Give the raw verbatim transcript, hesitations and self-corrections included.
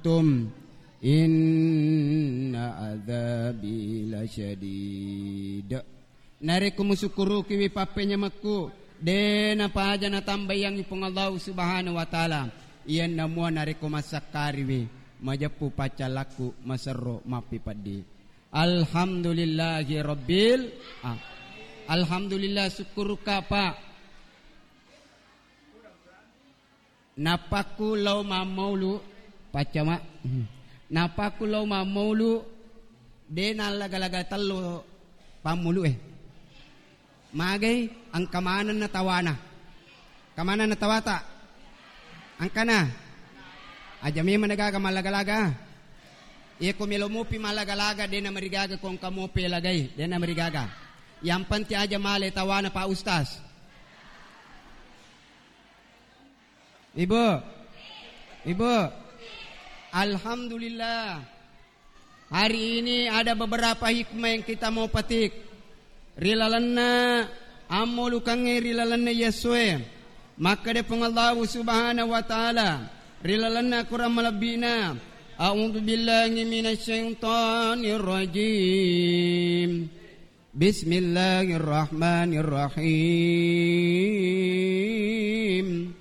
Tum, inna adzabi lasyadid. Narekko musukkurukiwi pappenyamekku, de napaja natambaiyangngi Puang Allahu Subhanahu wa Ta'ala. Iyanna mua narekko massakkariwi, majeppu paccallakku, maserro, mappipeddi. Alhamdulillahi rabbil a-, Alhamdulillah, sukkurukka, Pak. Napakku lao mammaulu, paccama. Napakku lao mammaulu, de nallaga-laga tello pammulu e. Magai, engka manenna tawana. Engka manenna tawata? Engkana? Aja memang gaga mallaga-laga. Iya ko melo mopi mallaga-laga, de namarigaga ko engka mopi lagai, de namarigaga. Yang penting aja male tawana, Pak Ustaz. Ibu, Ibu, Alhamdulillah. Hari ini ada beberapa hikmah yang kita mau petik. Ri lalenna ammolukengnge, ri lalenna yessoe. Makkeda Puang Allahu Subhanahu wa Ta'ala ri lalenna Quran malebbina, "A'udzu billahi minasyaitonir rajim. Bismillahirrahmanirrahim.